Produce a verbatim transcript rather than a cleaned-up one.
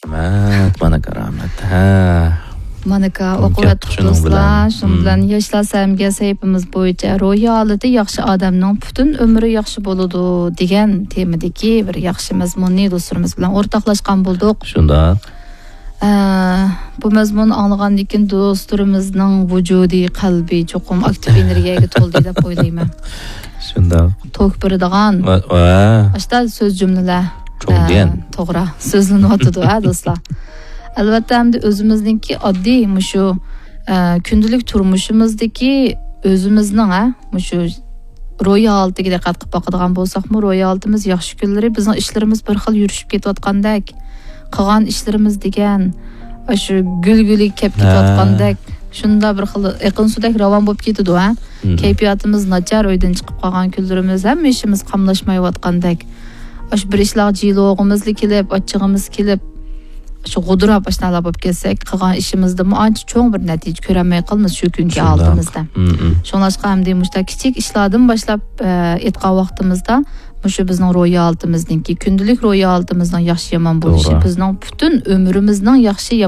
رەھمەت، مانا كارامەت. ھە. مانىكا، ئوقۇۋەتتۇق دوستلار. شۇنىڭ بىلەن ياشلار سەمگە سەھىپىمىز بويىچە روھىي ھالىتى ياخشى ئادەمنىڭ پۈتۈن ئۆمرى ياخشى بولىدۇ دېگەن تېمىدىكى بىر ياخشى مەزمۇننى دوستلىرىمىز بىلەن ئورتاقلاشقان بولدۇق. شۇنداق. ئە، بۇ مەزمۇننى ئاڭلىغاندىن كېيىن دوستلىرىمىزنىڭ ۋۇجۇدى، قەلبى چوقۇم ئاكتىپ ئېنېرگىيەگە تولدى دەپ ئويلايمەن. شۇنداق. توك بېرىدىغان. ۋە، ۋە. ئاشتا سۆز جۈملىلەر. چوڭ ئە، دېگەن. توغرا. سۆزلىنىۋاتىدۇ، ھە، دوستلار. ئەلۋەتتە، ئەمدى ئۆزىمىزنىڭكى ئاددىي مۇشۇ، ئە، كۈندىلىك تۇرمۇشىمىزدىكى ئۆزىمىزنىڭ، ھە، مۇشۇ روھىي ھالىتىگە دىققەت قىلىپ باقىدىغان بولساقمۇ، روھىي ھالىتىمىز ياخشى كۈنلىرى بىزنىڭ ئىشلىرىمىز بىر خىل يۈرۈشۈپ كېتىۋاتقاندەك، قىلغان ئىشلىرىمىز دېگەن، ئاشۇ گۈلگۈلىگە كەپ ھە. كېتىۋاتقاندەك، شۇنداق بىر خىل ئېقىن سۇدەك راۋان بولۇپ كېتىدۇ، ھە؟ مم. كەيپىياتىمىز ناچار، ئۆيدىن چىقىپ قالغان كۈنلىرىمىز، ھەممە ئىشىمىز قاملاشمايۋاتقاندەك. ئاشۇ بىر ئىشلارغا جىلوغىمىزلا كېلىپ، ئاچچىقىمىز كېلىپ، شۇ غۇدۇراپ ئاشۇنداقلار بولۇپ كەتسەك، قىلغان ئىشىمىزدىمۇ ئانچە چوڭ بىر نەتىجە كۆرەلمەي قالىمىز شۇ كۈنكى شۇنداق. ھالىتىمىزدە. مم، مم. شۇڭلاشقا ئەمدى مۇشۇنداق كىچىك ئىشلاردىن باشلاپ، ئە، ئېيتقان ۋاقتىمىزدا مۇشۇ بىزنىڭ روھىي ھالىتىمىزنىڭكى، كۈندىلىك روھىي ھالىتىمىزنىڭ ياخشى يامان بولۇشى توغرا. بىزنىڭ پۈتۈن ئۆمرىمىزنىڭ ياخشى